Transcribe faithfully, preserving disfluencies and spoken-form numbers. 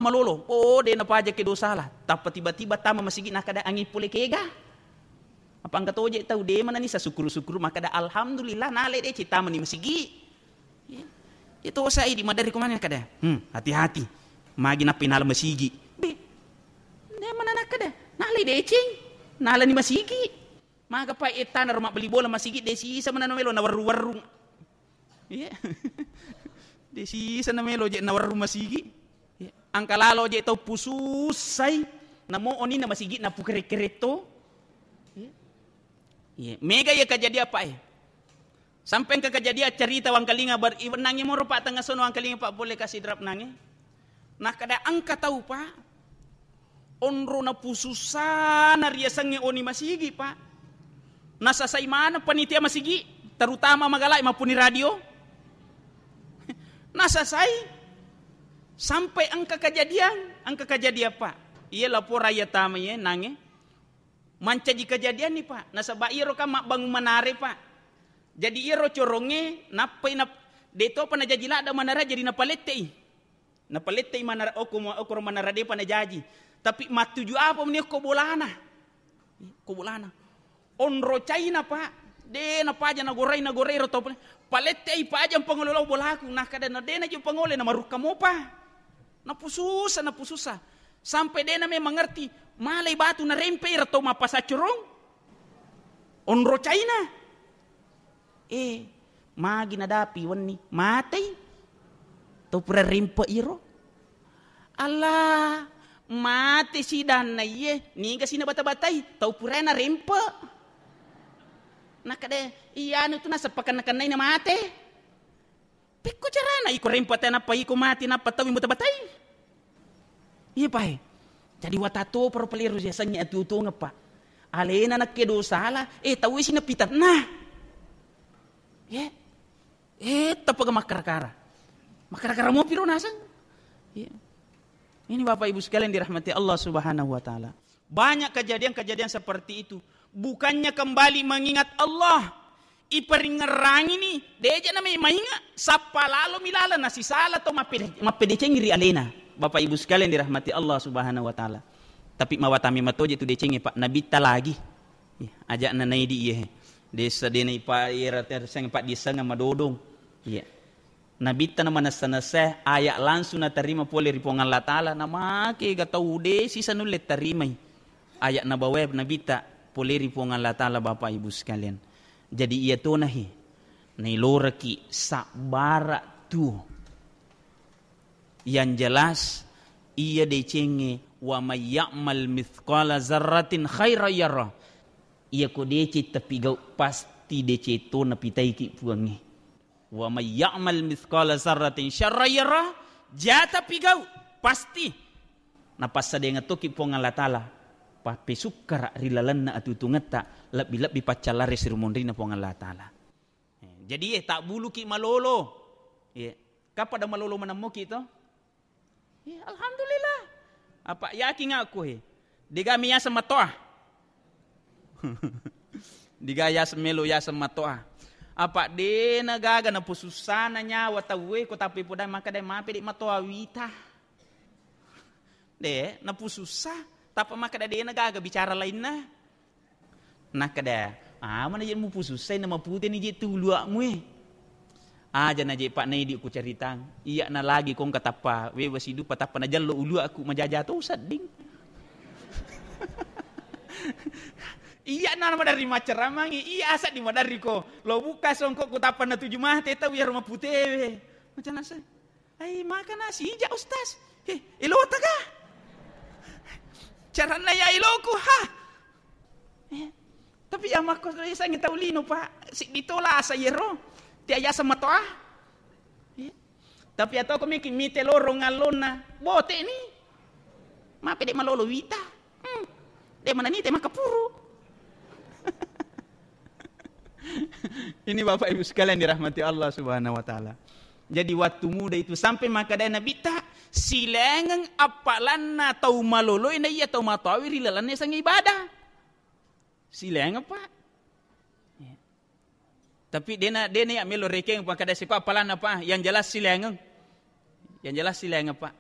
Malolo, oh, de' napaja ke dosa lah. Tappa tiba-tiba tama masigi nakkeda angi pole kega. Apa engka toje tau de' manani sasukkuru-sukkuru makkeda alhamdulillah nale de' citama ni masigi. Ya. Itu saya di madari kumane kada. Hmm, hati-hati. Magi nappi nala masigi. Be. De' manana kada. Nale deceng. Nala ni masigi. Maga pa ettana ro mabbeli bola masigi de' sisa manana melo na warru-warru. Iya. De' sisa na melo je' na warru masigi. Iya. Angka lalo je' tau pususai. Namo oni na masigi na pukere-keretto. Iya. Iya. Mega iya kajadian apa eh. Sampai engka kajadian cerita wangkalinga bar-, iwennangi moro pa tengnga sono wangkalinga pa bolle kasi drap nange. Nakkeda engka tau pa onro napusussana riasengnge oni masigi pa. Nasasai maneng panitia masigi, terutama magalai mappuni radio. Nasasai sampai engka kajadian, engka kajadian pa. Iya lapora iya tama iye nange. Mancaji kajadianni pa. Nasaba iyaro kan mabbangung manare pa. Jadi iyaro corongnge nappai nap-, de' topa najaji ladda manara jadi napalettei. Napalettei manara okko mo-, okkoro manara de'pa najaji. Tapi mattuju apa meni okko bolana? Ko bolana. Onro caina pa. De' napaja nagorai nagorai ro to pale-, palettei paja pangolo lao bolaku. Nakkeda na de' naji pangole na marukka mopa. Napususa, napususa. Sampai de' name mangerti. Malai batu narempei ro to mappasaccorong. Onro caina. Eh, magi nadapi wenni, matei. Tau pura rempe iro. Allah, mate sidanna iye, niga sina bata-batai, tau pura na rempe. Nakkeda, iya anu tu naseppa kenna-kennai na mate. Pekko carana iko rempe te nappa iko mate nappa tau bata-batai. Iya pae. Jadi watato paro paleru siasengnge atuo-tuongeng pa. Alena nakke dosala, eh tau isi napitanna. Ye. Eh, tappa ga makkara-kara. Makkara-kara mopi ro naseng. Iya. Ini Bapak Ibu sekalian dirahmati Allah Subhanahu wa Ta'ala. Banyak kejadian-kejadian seperti itu. Bukannya kembali mengingat Allah, iparingngerangini, deja namai mainga, sappa lalo mi laleng nasisala to mappede-, mappedecengi ri alena. Bapak Ibu sekalian dirahmati Allah Subhanahu wa Ta'ala. Tapi mawatami matoje tu decengi, Pak, nabitta lagi. Iya, aja'na naidi iye. Desa dena ipa-, ira terseng Pak diseng madodong. Iya. Nabitta na manessa-nessa aya langsung natarima pole ri Puang Allah Ta'ala, namake ga tau de sisa nulle tarimai aya nabawae nabitta pole ri Puang Allah Ta'ala, Bapak Ibu sekalian. Jadi iya tonahi nailoraki sabbara tu. Yang jelas iya decengnge wa may ya'mal mithqala zarratin khairan yara. Iya ko deceng tapi gau pasti deceng to napitaiki Puangnge. Wa may ya'mal mithqala zarratin syarran yara, jata pigau, pasti napassadengeng toki Puang Allah Ta'ala, pappesukkara ri lalenna atutungetta, lebbi-lebbi paccallare sirumonrinna Puang Allah Ta'ala. Eh, jadi, eh, tabbuluki malolo. Iya. Kan pada malolo manemmoki to? Iya, alhamdulillah. Apa yakin aku he. Dega mi yaseng matoa. Dega yaseng melo yaseng matoa. Apa dena gaga napusussana nyawa tauwe ko tapi podang makkeda mape de matoa wita. De, napusussa. Tapa makkeda dena gaga bicara lainna. Nakkeda, "Amana je mupusussai na maputeni je tu uluakmu e." Aja na je Pak Naidi ku caritang. Iya na lagi kongka tappa wewa sidupa tappa na jallo uluakku majaja to sedding. Iya na madarri macaramangi, iya asa di madarri ko. Lo buka songkok ku tappa na tuju mate tau yaro maputewe. Macam nasa. Ai, makana sija, Ustaz. He, elota ga? Caranna ya eloku, ha? Eh, tapi ya makko sangi tau lino, Pak. Siddi tola asa yero. Tia yasa matoa. Eh, tapi atau ko miki mite lorong allonna. Bote ni. Mape de malolo wita. Hmm. De mananite makkapuru. Ini Bapak Ibu sekalian dirahmati Allah Subhanahu wa Ta'ala. Jadi waktu muda itu sampai makkeda Nabitta, silengeng appalanna tau maloloi na iya tau matoawi ri lalenna yasengnge ibadah. Silengeng, Pak. Ya. Tapi dena, dena ya melo rekeng, Pak, kada siko appalanna, Pak. Yang jelas silengeng. Yang jelas silengeng, Pak.